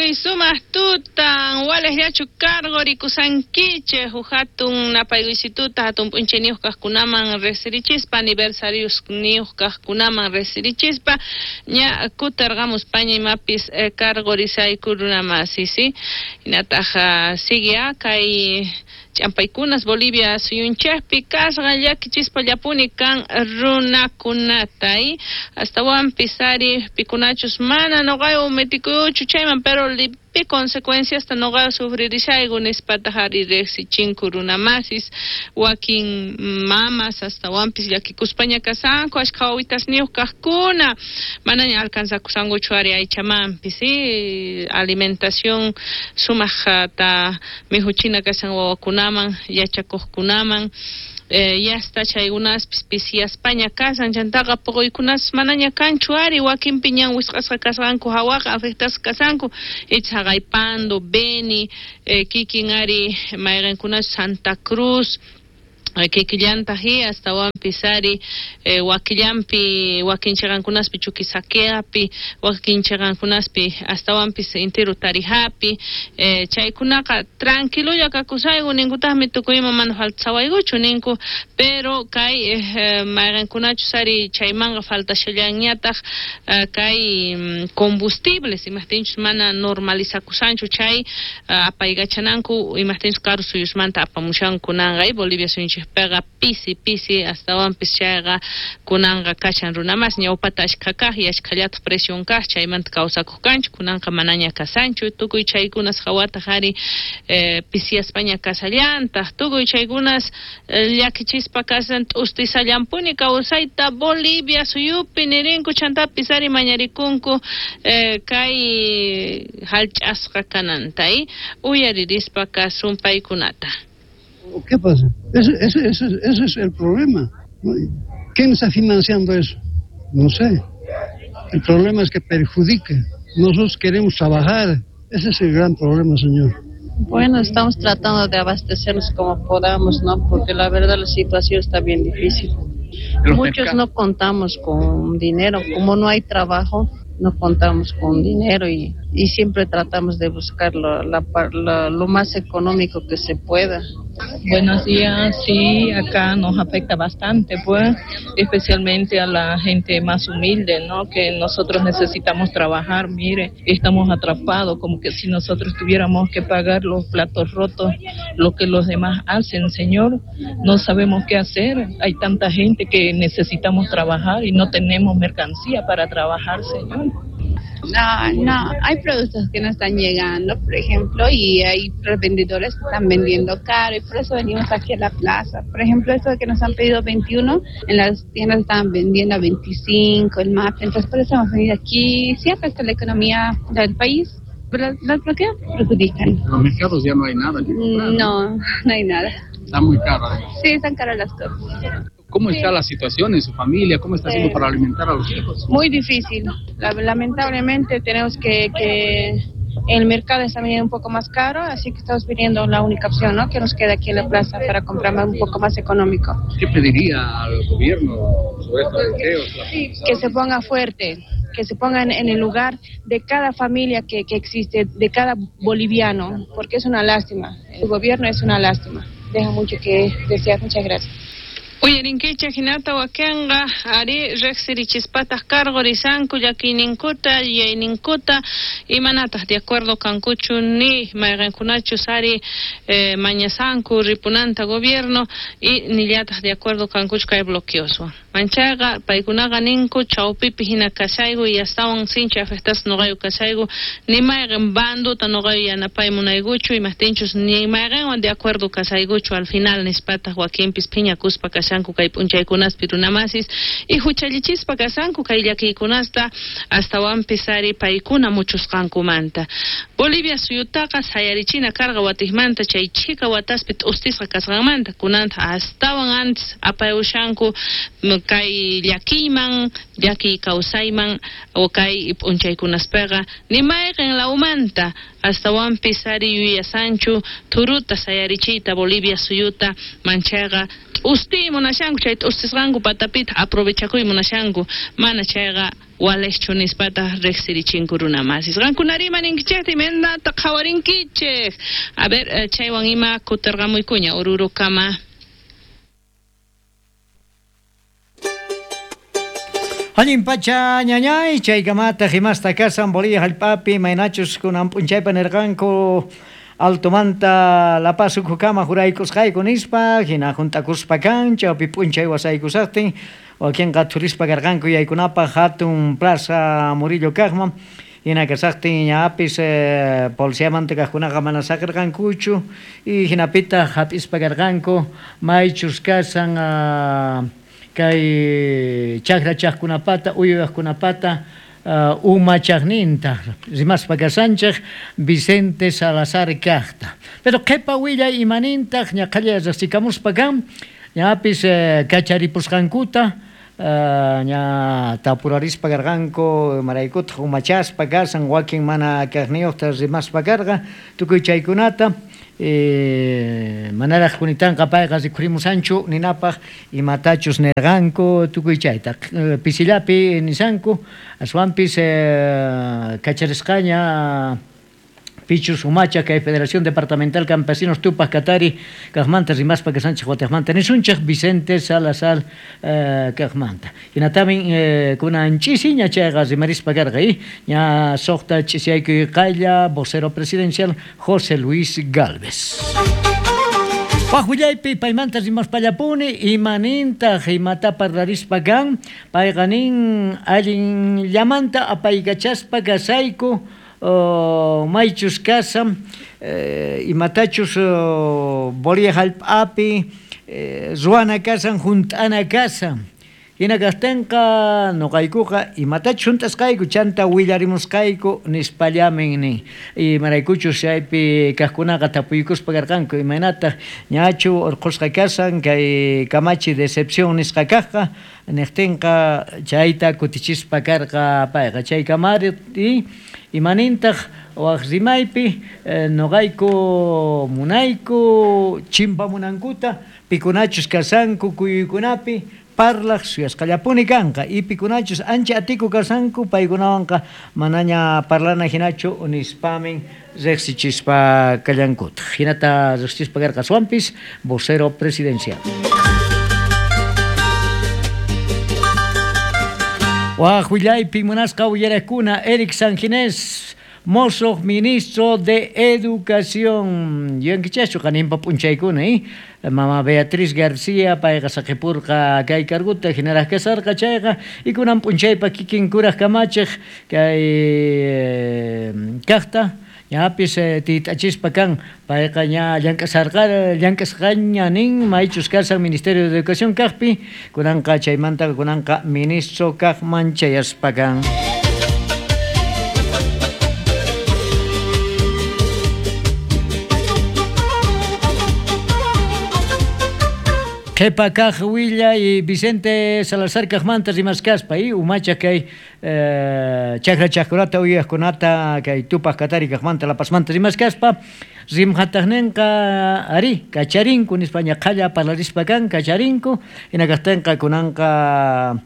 Tukuy sumaq tutan, walejllachu karqurikusankichej huk hatun napaykuysituta hatun p'unchayniyuq kaqkunaman riqsirichispa, aniversariosniyuq kaqkunaman riqsirichispa, ña kutirqamuspaña imapis karqurisayku runamasi, sí? Hinataq sigue kay ch'ampaykunas Bolivia suyunchikpi kasqa llakichispallapuni kan runakunata, astawanpis ari pikunachus mana nuqaywan metikuyuchu chayman, pero pi consecuenciasta nuqaywan sufririshayku nispataq ari riqsichinku runamasis, wakin mamas astawanpis llakikuspaña kasanku, ashkha wawitasniyuq kaqkuna manaña alcanzakusankuchu ari aychamanpis, sí, alimentación sumaqta mihuchina kashan wawakunaman, yachakuqkunaman, yasta chaykunaspis pisiyaspaña kasan, chantaqa puquykunas manaña kanchu ari, wakinpi ñan wisq'asqa kasqanku hawaqa afectasqa kasanku, icha haqay Pando, Beni, kikin ari mayqinkunas Santa Cruz, kikillantaq astawanpis ari wakillanpi wakin chiqankunaspi Chuquisaqueapi, wakin chiqankunaspi astawanpis intiru Tarijapi, chaykunaqa tranquilolla kakusayku ninkutaqmi tukuy ima mana faltasawaykuchu ninku, pero kay mayqinkunachus ari chaymanqa faltashallanñataq kay combustibles, imaqtinchus mana normalizakusanchu chay apaykachananku, imaqtinchus karu suyusmanta apamushanku kunanqa Bolivia suyunchikpiqa pisi pisi astawanpis chayqa kunanqa kashan runamas ñawpata ashkha kaq y ashkhallataq precion kaq chaymanta kawsakuq kanchik, kunanqa manaña kasanchu, tukuy chaykunas hawataq ari pisiyaspaña kasallantaq, tukuy chaykunas llakichispa kasan t'ustisallampuni kawsayta Bolivia suyupi nirinku, chantapis ari mañarikunku kay hallch'asqa kananta, uyaririspa kasun paykunata. ¿Qué pasa? Ese es el problema. ¿Quién está financiando eso? No sé. El problema es que perjudica. Nosotros queremos trabajar. Ese es el gran problema, señor. Bueno, estamos tratando de abastecernos como podamos, ¿no? Porque la verdad la situación está bien difícil. Muchos no contamos con dinero. Como no hay trabajo, no contamos con dinero y siempre tratamos de buscar lo más económico que se pueda. Buenos días, sí, acá nos afecta bastante, pues, especialmente a la gente más humilde, ¿no? Que nosotros necesitamos trabajar, mire, estamos atrapados, como que si nosotros tuviéramos que pagar los platos rotos, lo que los demás hacen, señor, no sabemos qué hacer, hay tanta gente que necesitamos trabajar y no tenemos mercancía para trabajar, señor. No, hay productos que no están llegando, por ejemplo, y hay revendedores que están vendiendo caro y por eso venimos aquí a la plaza. Por ejemplo, eso que nos han pedido 21, en las tiendas estaban vendiendo a 25, el MAP, entonces por eso hemos venido aquí. Sí afecta la economía del país, pero los bloqueos perjudican. En los mercados ya no hay nada que comprar. No, no hay nada. Está muy caro, además. Sí, están caras las cosas. ¿Cómo está la situación en su familia? ¿Cómo está haciendo para alimentar a los hijos? Muy difícil. Lamentablemente tenemos que el mercado está viniendo un poco más caro, así que estamos pidiendo la única opción, ¿no?, que nos queda aquí en la plaza para comprar un poco más económico. ¿Qué pediría al gobierno sobre estos bloqueos? Que se ponga fuerte, que se pongan en el lugar de cada familia que existe, de cada boliviano, porque es una lástima. El gobierno es una lástima. Deja mucho que desear. Muchas gracias. Uyarinkichej hinata wakinqa ari riqsirichispataq karqurisanku llakiyninkuta yuyayninkuta imanataq de acuerdo kankuchu ni mayqinkunachus ari mañasanku ripunanta gobierno y nillataq de acuerdo kankuchu kay bloqueoswan. Manchayqa paykunaqa ninku chawpipi hina kashayku y astawan sinchi afectasqa nuqayu kashayku ni mayqin banduta nuqayu yanapay munaykuchu imaqtinchus ni mayqinwan de acuerdo kashaykuchu al final nispataq wakinpis phiñakuspa kashanku kay p'unchaykunaspi runamasis y huchallichispa kasanku kay llakiykunasta astawanpis ari paykuna muchusqankumanta. Bolivia suyutaqa sayarichina karqa watiqmanta chay chhika wataspi t'ustisqa kasqanmanta kunanta astawan antes apayushanku kay llakiyman, llakiy kawsayman o kay p'unchaykunaspiqa ni mayqin lawmanta astawanpis ari yuyasanchu thuruta sayarichiyta Bolivia suyuta manchayqa t'ustiyman. munashanku chay t'ustisqanku patapita aprovechakuy munashanku mana chayqa walejchu nispataq riqsirichinku runamasis. Qankunari imaninkichikta imaynata qhawarinkichik. A ver, chaywan ima kutirqamuykuña Orurokama. Allin pacha ñañay chaykamata himasta kasan Bolivia hallp'api maynachus kunan p'unchaypa nirqanku Altomanta La Paz ukhukama juraykusqayku nispa hina hunt'akuspa kan chawpi p'unchay wasaykusaqtin wakinqa thurispa karqanku yaykunapaq hatun plaza Murillo kaqman hina kasaqtin ñapis policiamanta kaqkunaqa mana saqirqankuchu y hinapitaq hap'ispa karqanku maychus kasan kay chakra chaqkunapata uywaqkunapata umachaqninta rimaspa kasanchik Vicente Salazar kaqta. Pero qhipa willay imanintaq ñaqhalla riqsikamuspa kan ñapis kacharipusqankuta ña tapurarispa karqanku maraykutaq umachaspa kasan wakin mana kaqniyuqta rimaspa karqa tukuy chaykunata manaraq kunitanqa payqa rikhurimusanchu ninapaq imatachus nirqanku tukuy chayta pisillapi nisanku aswanpis kacharisqaña pichus umacha kay Federación Departamental Campesinos Tupac Katari kaqmanta rimaspa kasanchik wataqmanta nisunchik Vicente Salazar kaqmanta hinatamin kunan ch'isiña chayqa rimarispa karqa ña suqta ch'isiyaykuy qaylla vocero presidencial José Luis Gálvez. Waq willaypi paymanta rimaspallapuni imanintaq imata parlarispa kan payqa nin allinllamanta apaykachaspa kasayku maychus kasam imatachus Bolivia hallp'api ruwana kasan hunt'ana kasan hina kaqtinqa nuqaykuqa imatachus hunt'asqayku chanta willarimusqayku nispallamin nin imaraykuchus chaypi kaqkunaqa tapuykuspa karqanku imaynataq ñachu urqhusqa kasan kay kamachi decepción nisqa kaqqa niqtinqa chayta kutichispa karqa payqa chay kamari imanintaq waq rimaypi nuqayku munayku chimpamunankuta pikunachus kasanku kuyuykunapi parlaq suyasqallapuni kanqa y pikunachus ancha atiku kasanku paykunawanqa manaña parlana hinachu nispamin riqsichispa kallankutaq hinata riqsichispa karqa aswanpis vocero presidencial. Waq willaypi munasqa uyarakuna Eric Sanginés mozo ministro de Educación. Yuyankichaschu qaninpa p'unchaykuna, Mama Beatriz García payqa saqipurqa kay carguta hinaraq kasarqa chayqa y kunan p'unchaypa kikin kuraq kamachiq kay kaqta ñapis tit'achispa kan payqa ña llank'asarqa llank'asqaña nin maychus kasan Ministerio de Educación kaqpi kunanqa chaymanta kunanqa ministro kaqman chayaspa kan. Qhipa kaq willay Vicente Salazar kaqmanta rimaskaspa umacha kay chakra chaqkunata uywaqkunata kay Tupac Katari kaqmanta La Pazmanta rimaskaspa rimhataqninqa ari kacharinku nispa ñaqhalla parlarispa kan kacharinku hina kaqtinqa kunanqa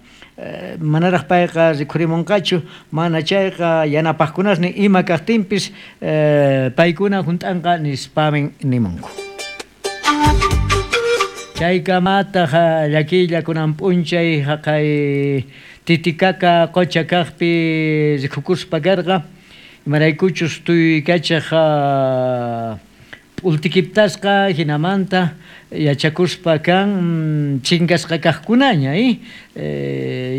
manaraq payqa rikhurimunqachu mana chayqa yanapaqkunasnin ima kaqtinpis paykuna hunt'anqa nispamin nimunku. Chaykamataq llakilla kunan p'unchay haqay Titicaca qocha kaqpi rikukuspa karqa imaraykuchus tuykachaq p'ultikiptasqa hinamanta yachakuspa kan chinkasqa kaqkunaña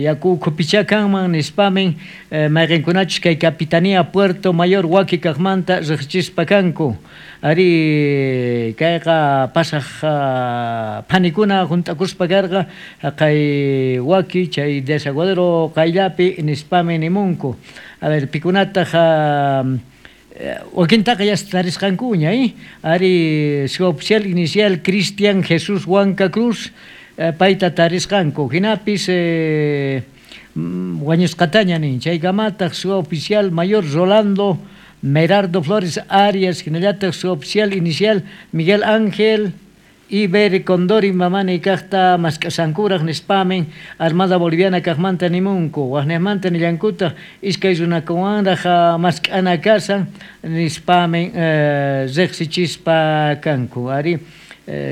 yaku ukhupichá kanman nispamin mayqinkunachus kay Capitanía Puerto Mayor waki kaqmanta riqsichispa kanku ari kayqa pasaq phanikuna hunt'akuspa karqa haqay waki chay desaguadero qayllapi nispamin nimunku. A ver pikunataq wakintaqa ya tarisqankuña ari su oficial inicial Cristian Jesús Huanca Cruz payta tarisqanku hinapis wañusqataña nin chaykamataq su oficial mayor Rolando Merardo Flores Arias hinallataq su oficial inicial Miguel Ángel Iber Condori mamani kaqta mask'asankuraq nispamin Armada Boliviana kaqmanta nimunku waqniqmanta nillankutaq iskay runakuwanraq mask'ana kasan nispamin riqsichispa kanku ari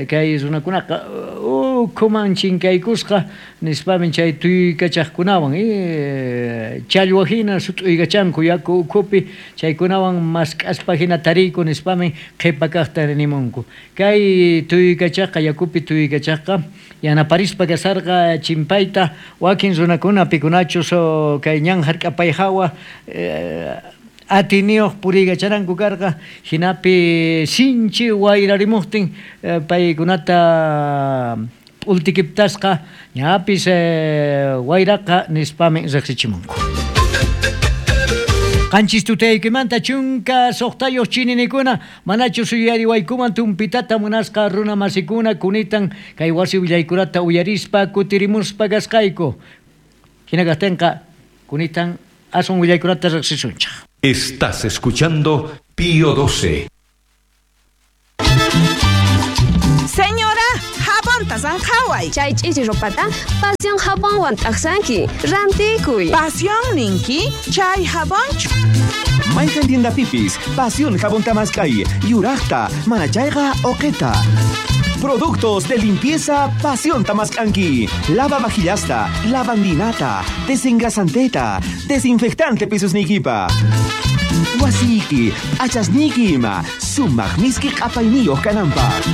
kay runakunaqa ukhuman chinkaykusqa nispamin chay tuykachaqkunawan challwa hina sut'uykachanku yaku ukhupi chaykunawan mask'aspa hina tariyku nispamin qhipa kaqta nimunku kay tuykachaqqa yakupi tuykachaqqa yanaparispa kasarqa chimpayta wakin runakuna pikunachus kay ñan hark'apay hawa atiniyuq puriykacharanku karqa hinapi sinchi wayrarimuqtin paykunata p'ultikiptasqa ñapis wayraqa nispamin riqsichimunku. Qanchis tutaykimanta 16 chininikuna manachus yuyariwaykuman tumpitata munasqa runa masikuna kunitan kay wasi willaykunata uyarispa kutirimuspa kasqayku hina kaqtinqa kunitan aswan willaykunata riqsisunchik. Estás escuchando Pío 12. Señora, jabonta sanjaway. Chay ch'ichi ropata Pasión jabonwan t'aqsanki. Rantikuy. Pasión ninki, chay jabonchu. Mayqan tiendapipis, Pasión jabón tamaskay, yuraqta, manachayqa oqeta. Productos de limpieza Pasión Tamascanqui. Lava vajillasta, lavandinata, desengrasanteta, desinfectante pisos nikipa. Wasiki, achasniki ima, sumaq miski q'apayniyuq kananpaq.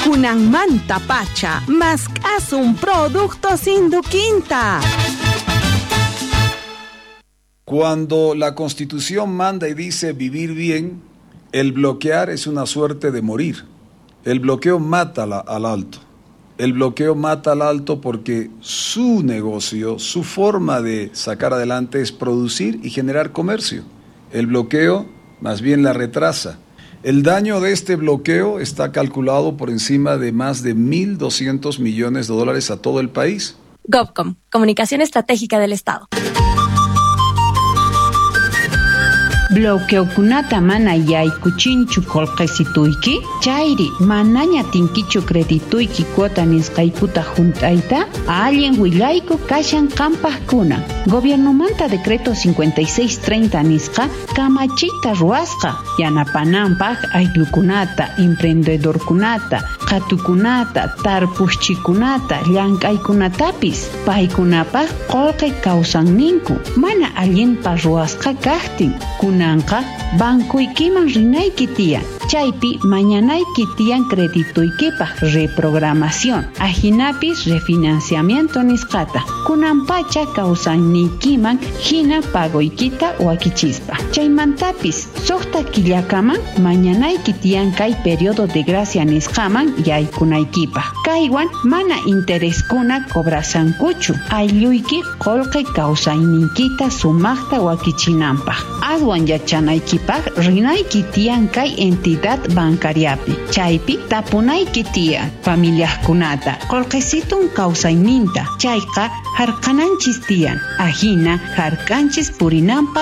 Kunanmanta pacha, mask'asun productos Induquinta. Cuando la Constitución manda y dice vivir bien, el bloquear es una suerte de morir. El bloqueo mata al alto. El bloqueo mata al alto porque su negocio, su forma de sacar adelante es producir y generar comercio. El bloqueo más bien la retrasa. El daño de este bloqueo está calculado por encima de más de 1.200 millones de dólares a todo el país. GovCom, Comunicación Estratégica del Estado. Bloqueokunata mana yaykuchinchu qullqisituyki, chayri manaña tinkichu credituyki cuota nisqaykuta hunt'ayta, allin willayku kashan qampaqkuna. Gobiernomanta decreto 5630 nisqa kamachiyta ruwasqa yanapananpaq ayllukunata, emprendedorkunata, qhatukunata, tarpuqchikunata, llank'aykunatapis paykunapaq qullqi kawsanninku mana allinpa ruwasqa kaqtin. Kunanqa bankuykiman rinayki tiyan, chaypi mañanayki tiyan credituykipaq reprogramación, ajinapis refinanciamiento nisqata. Kunanpacha kawsanniykiman hina pagoykita wakichispa. Chaymantapis suqta killakaman mañanayki tiyan kay periodo de gracia nisqaman yaykunaykipaq. Kaywan mana intereskuna cobrasankuchu, aylluyki qullqi kawsayniykita sumaqta wakichinanpaq. Aswan yachanaykipaq rinayki tiyan kay entidad bancariapi. Chaypi tapunayki tiyan familiaqkunata qullqisitun kawsayninta. Chayqa hark'ananchis tiyan. Ajina hark'anchis purinanpaq.